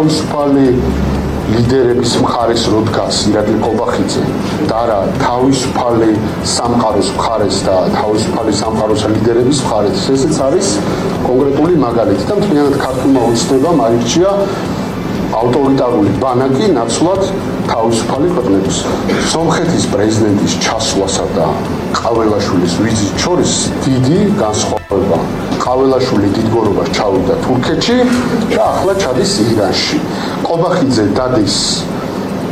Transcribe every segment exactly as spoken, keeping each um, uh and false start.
თავისუფალი ლიდერების მხარეს რო დგას ირაკლი ყობახიძე და არა თავისუფალი სამყაროს მხარეს და თავისუფალი სამყაროს ლიდერების მხარეს, ესეც არის კონკრეტული მაგალითი და მთლიანად ქართულმა ოცნებამ აირჩია ავტორიტარული ბანაკი ნაცვლად თავისუფალი ქვეყნების. სომხეთის პრეზიდენტის ჩასვლასა და ყაველაშვილის ვიზიტს შორის დიდი განსხვავება. ყაველაშვილი დიდგორობას ჩავიდა თურქეთში და ახლა ჩადის ირანში. ყობახიძე დადის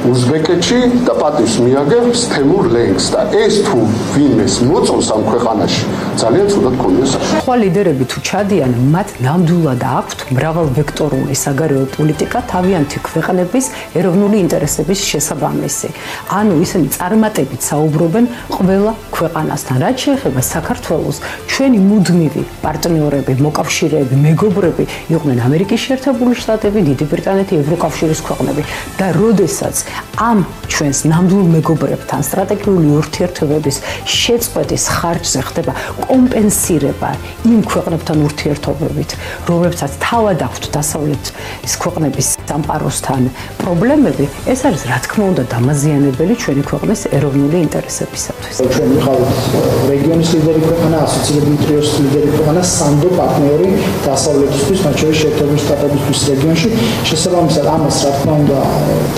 უზბეკეთში და პატივს მიაგებს თემურ ლენგს და ეს თუ ვინმეს მოწონს ამ ქვეყანაში ძალიან ცუდად გქონია საქმე. სხვა ლიდერები თუ ჩადიან, მათ ნამდვილად აქვთ მრავალვექტორული საგარეო პოლიტიკა თავიანთი ქვეყნების ეროვნული ინტერესების შესაბამისი. ანუ ისინი წარმატებით საუბრობენ ყველა ქვეყანასთან. რაც შეეხება საქართველოს, ჩვენი მუდმივი პარტნიორები, მოკავშირეები, მეგობრები იყვნენ ამერიკის შეერთებული შტატები, დიდი ბრიტანეთი, ევროკავშირის ქვეყნები და როდესაც ამ ჩვენს ნამდვილ მეგობრებთან სტრატეგიული ურთიერთობების შეწყვეტის ხარჯზე ხდება კომპენსირება იმ ქვეყნებთან ურთიერთობებით, რომლებსაც თავად აქვთ დასავლეთის ქვეყნების სამყაროსთან პრობლემები, ეს არის რა თქმა უნდა დამაზიანებელი ჩვენი ქვეყნის ეროვნული ინტერესებისათვის. ჩვენ ვიყავით რეგიონის ლიდერი ქვეყანა, ასოცირებული ტრიოს ლიდერი ქვეყანა, სანდო პარტნიორი დასავლეთისთვის, მათ შორის შეერთებული შტატებისთვის რეგიონში. შესაბამისად ამას რა თქმა უნდა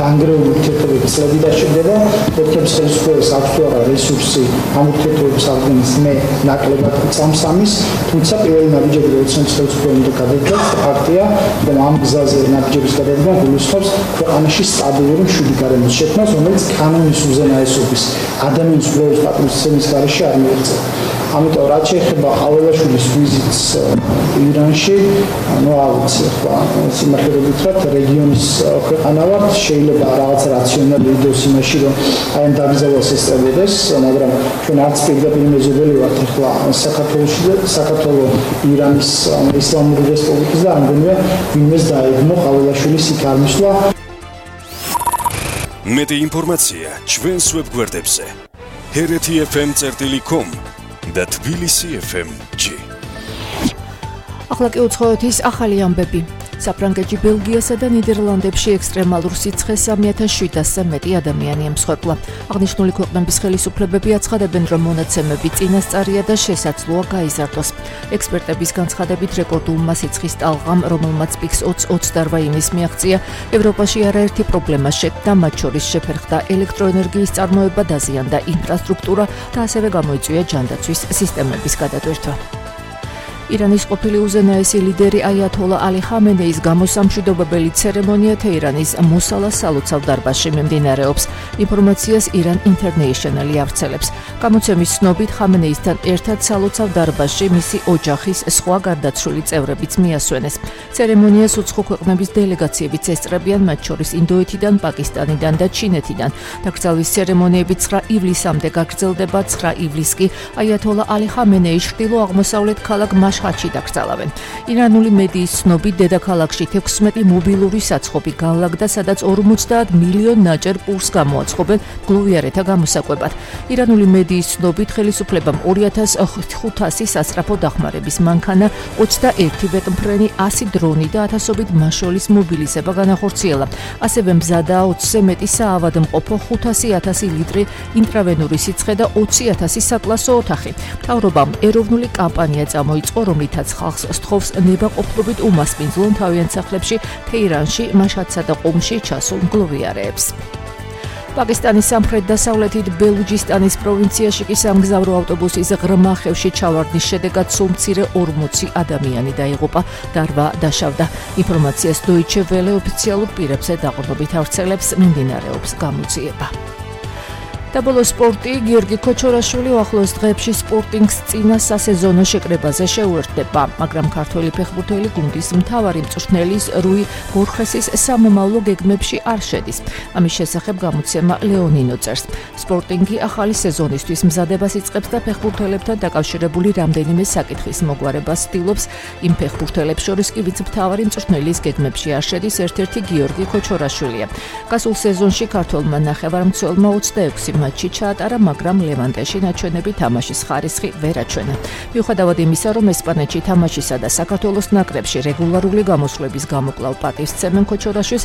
დანგრეული ურთიერთობების წლები დასჭირდება. თურქეთის ხელისუფლებას აქვს თუ არა რესურსი ამ ურთიერთობების აღდგენის მე ნაკლებად წამსამის, თუმცა პირველი ნაბიჯები როდესაც ხელისუფლება უნდა გადაიდგას, ფაქტია, რომ ამ გზაზე ნაბიჯების გადადგმა გულისხმობს ქვეყანაში სტაბილური მშვიდი გარემოს შექმნას, რომელიც კანონის უზენაესობის ადამიანის უფლებების პატრონისების გარეშე არ მიიღწევა. ამიტომ რაც შეეხება ყაველაშვილის ვიზიტს ირანში, ну აუცი ახლა სიმართლე გითხრათ, რეგიონის ქვეყანა ვართ, შეიძლება რაღაც რაციონალი იდეოს იმაში, რომ აი ამ დაგზავნას ესწრებოდეს, მაგრამ ჩვენ არც პირდაპირ მეზობელი ვართ ახლა საქართველოში და საქართველოს ირანის ისლამური რესპუბლიკის და ამგვარია ვინმეს დაეგმო ყაველაშვილის იქ არ მისვლა. მეტი ინფორმაცია ჩვენს ვებგვერდებზე ჰერეთი ეფ ემ წერტილი კომ და თბილისი ეფ ემ ჯი. ახლა კი უცხოეთის ახალი ამბები. საფრანგეთში, ბელგიასა და ნიდერლანდებში ექსტრემალურ სიცხეს სამი ათას შვიდასზე მეტი ადამიანი ემსხვერპლა. აღნიშნული ქვეყნების ხელისუფლებები აცხადებენ, რომ მონაცემები წინასწარია და შესაძლოა გაიზარდოს. ექსპერტების განცხადებით, რეკორდულმა სიცხის ტალღამ, რომელმაც პიკს ოცი ოცდაოთხ ივნის მიაღწია, ევროპაში არაერთი პრობლემა შექმნა, მათ შორის შეფერხდა ელექტროენერგიის წარმოება, დაზიანდა ინფრასტრუქტურა და ასევე გამოიწვია ჯანდაცვის სისტემების გადატვირთვა. ირანის ყოფილი უზენაესი ლიდერი აიათოლა ალი ხამენეის გამოსამშვიდობებელი ცერემონია თეირანის მოსალა სალოცავ დარბაზში მიმდინარეობს. ინფორმაციას ირან ინტერნეიშნალი ავრცელებს. გამოცემის ცნობით ხამენეისთან ერთად სალოცავ დარბაზში მისი ოჯახის სხვა გარდაცვლილი წევრებიც მიასვენეს. ცერემონიას უცხო ქვეყნების დელეგაციებიც ესწრებიან, მათ შორის ინდოეთიდან, პაკისტანიდან და ჩინეთიდან. დაკრძალვის ცერემონიები ცხრა ივლისამდე გაგრძელდება. ცხრა ივლისს კი აიათოლა ალი ხამენეის ჩრდილო-აღმოსავლეთ ქალაქ მაშჰადში დაკრძალავენ. ირანული მედიის ცნობით, დედაქალაქში თექვსმეტი მობილური საცხობი განლაგდა, სადაც ორმოცდაათ მილიონ ნაჭერ პურს გამოაცხობენ გლოვიარეთა გამოსაკვებად. ირანული მედიის ცნობით, ხელისუფლებამ ორი ათას ხუთასი სასწრაფო დახმარების მანქანა, ოცდაერთი ვეტმფრენი, ასი დრონი და ათასობით მაშოლის მობილიზება განახორციელა. ასევე მზადაა ოცზე მეტი საავადმყოფო, ხუთასი ათასი ლიტრი ინტრავენური სიცხე და ოცი ათასი საკლასო ოთახი. მთავრობამ ეროვნული კამპანია წამოიწყო, რომლითაც ხალხს სთხოვს ნებაყოფლობით უმასპინძლონ თავიანთ სახლებში, თეირანში, მაშჰადსა და ყუმში ჩასულ მგლოვიარეებს. პაკისტანის სამხრეთ-დასავლეთით ბელუჯისტანის პროვინციაში კი სამგზავრო ავტობუსის ღრმა ხევში ჩავარდნის შედეგად სულ მცირე ორმოცი ადამიანი დაიღუპა და რვა დაშავდა. ინფორმაციას დოიჩე ველე ოფიციალურ პირებზე დაყრდნობით ავრცელებს, მიმდინარეობს გამოძიება. და ბოლო სპორტი, გიორგი ქოჩორაშვილი ახლოს დღეებში სპორტინგს წინა სასეზონო შეკრებაზე შეუერთდება, მაგრამ ქართველი ფეხბურთელი გუნდის მთავარი მწვრთნელის რუი ბორხესის სამომავლო გეგმებში არ შედის. ამის შესახებ გამოცემა ლეონინო წერს. სპორტინგი ახალი სეზონისთვის მზადებას იწყებს და ფეხბურთელებთან დაკავშირებული რამდენიმე საკითხის მოგვარებას ცდილობს. იმ ფეხბურთელებს შორის კი ვინც მთავარი მწვრთნელის გეგმებში არ შედის, ერთ-ერთი გიორგი ქოჩორაშვილია. გასულ სეზონში ქართველმა ნახევარმცველმა ოცდაექვსი მატჩი ჩაატარა, მაგრამ ლევანტეში ნაჩვენები თამაშის ხარისხი ვერ აჩვენა. მიუხედავად იმისა, რომ ესპანეთში თამაშისა და საქართველოს ნაკრებში რეგულარული გამოსვლების გამო კვლავ პატივს სცემენ ქოჩორაშვილს,